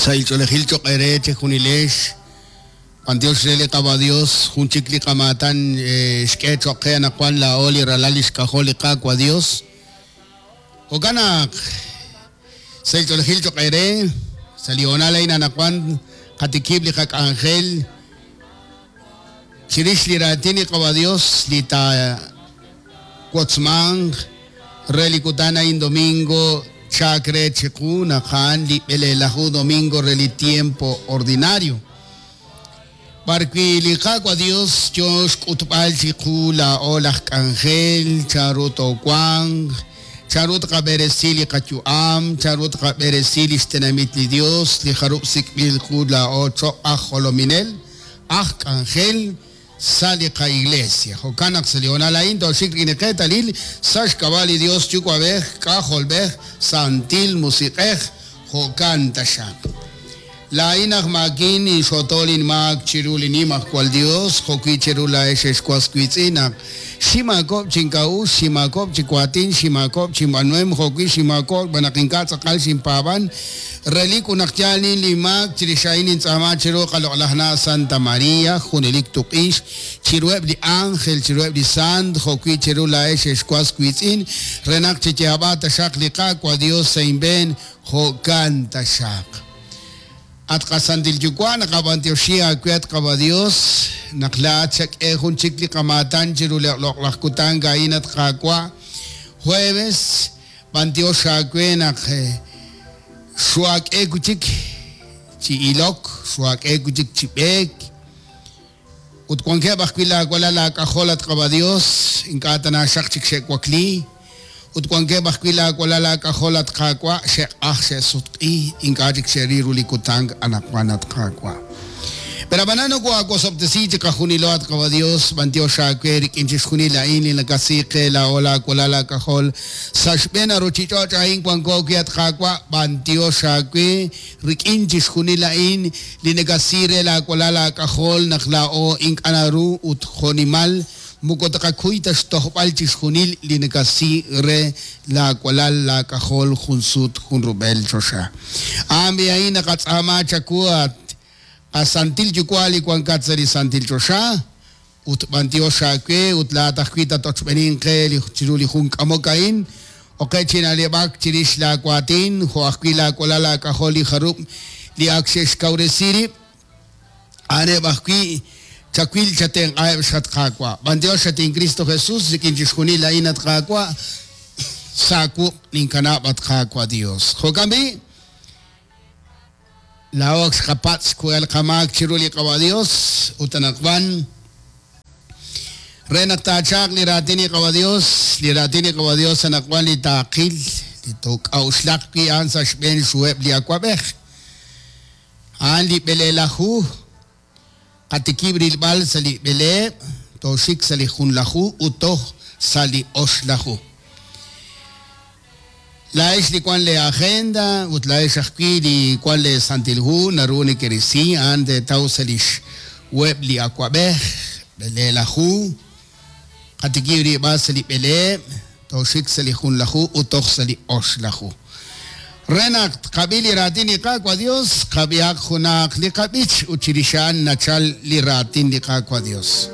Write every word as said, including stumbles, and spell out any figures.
Sahil ch'oolejil cho'q eere chejunilex. B'antiox re li Qaawa' Dios, jun chik li qamaatan xk'e cho'q qe anaqwan laa'o li ralal li xk'ajol li Qaawa' Dios. Jo'kan naq sahil ch'oolejil cho'q eere, sa' li hoonal a'in anaqwan qatikib' li qak'anjel chirix li raatin li Qaawa' Dios li taawotzmanq re li kutan a'in domingo chak re chiqu naq a'an li b'eleelaju domingo re li tiempo ordinario. B'arwi li Qaawa' Dios yo xk'utb'al chiqu laa'o laj k'anjel, chanru toowanq, chanru tqab'eresi li qayu'am, chanru tqab'eresi li xtenamit li Dios, li jarub' sik'b'il qu laa'o cho'q aj jolominel, aj k'anjel sa' li qa-iglesia. Jo'kan naq sa' li hoonal a'in tooxik rik'in li qeetalil sa' xk'ab'a' li Dios Yuwa'b'ej, K'ajolb'ej, Santil Musiq'ej, jo'kan taxaq. Laa'in aj maakin inxotol inmaak chiru li Nimajwal Dios, jo'wi chiru laa'ex exwas wiitz'in naq ximaakoob' chink'a'uxl, ximaakoob' chiwaatin, ximaakoob' chinb'anuhem, jo'wi ximaakoob' xb'aan naq ink'a' tz'aqal xinpaab'an. Relik ut naq yaal nin li maak chirix a'in nintz'aama chiru qaloq'laj na' Santa María, junelik tuq'ix, chiruheb' li ángel, chiruheb' li sant, jo'wi chiru laa'ex exwas wiitz'in, re naq chiyaab'a taxaq li Qaawa' Dios sa' inb'een, jo'kan taxaq. At qasantil Yuwa' naqab'antioxi aawe at Qaawa' Dios, naq laa'at xak'e jun chik li qamaatan chiru li loq'laj kutan a'in at Qaawa'. Jueves, b'antiox aawe naq xuak'e kuchik chi ilok, xuak'e kuchik chi b'eek. Ut wankeb' ajwi' laawalal laak'ajol at Qaawa' Dios, ink'a' tanaxaq chik xe'wakli. Ut wankeb' ajwi' laawalal laak'ajol at Qaawa' xe'q'aj xe'sutq'i, ink'a' chik xe'ril ru li kutan anaqwan at Qaawa'. Pero ab'anan noko'aawosob'tesi chiqajunilo at Qaawa' Dios, b'antiox aawe rik'in chixjunil a'in li nakasi qe laa'o laawalal laak'ajol sa' xb'een aruchich'och' a'in wanko wi' at Qaawa', b'antiox aawe rik'in chixjunil a'in li nakasi re laawalal laak'ajol naq laa'o ink'a' naru ut jo'nimal moko taqakuy ta xtojb'al chixjunil li nakasi re laawalal laak'ajol jun sut jun rub'el choxa. A'an b'i a'in naqatz'aama chawu at qasantil Yuwa' li wankat sa' li santil choxa, ut b'antiox aawe ut laa'at ajwi' tatochb'enin qe li chiru li jun k'amok a'in, oqe china'leb'ak chirix laawaatin, jo' ajwi' laawalal laak'ajol li jarub' li ak xe'xkawresi rib', a'aneb' ajwi' chawil chatenq'aheb' xat Qaawa'. B'antiox at in Cristo Jesús rik'in chixjunil a'in at Qaawa', sa' wuq' ninkanab' at Qaawa' Dios. Jo'kan b'i', laa'o ak xqapatz' xku'el qamaak chiru li Qaawa' Dios ut anaqwan re naq taachaq li raatin li Qaawa' Dios, li raatin li Qaawa' Dios anaqwan li taaqil, li took'a'uxlaq wi' a'an sa' xb'een xhuheb' li awab'ej. A'an li b'eleelaju, qatikib' rilb'al sa' li b'eleeb', tooxik sa' li junlaju ut toj sa' li oxlaju. Laa'ex li wan le agenda ut laa'ex ajwi' li wan le santil hu naru nekerisi a'an teetaw sa' li xweb' li awab'ej, b'eleelaju, qatikib' rilb'al sa' li b'eleeb', tooxik sa' li junlaju ut toj sa' li oxlaju. Re naq tqab'i li raatin li Qaawa' Dios, qab'ihaq junaq li qab'ich ut chirix a'an nachal li raatin li Qaawa' Dios.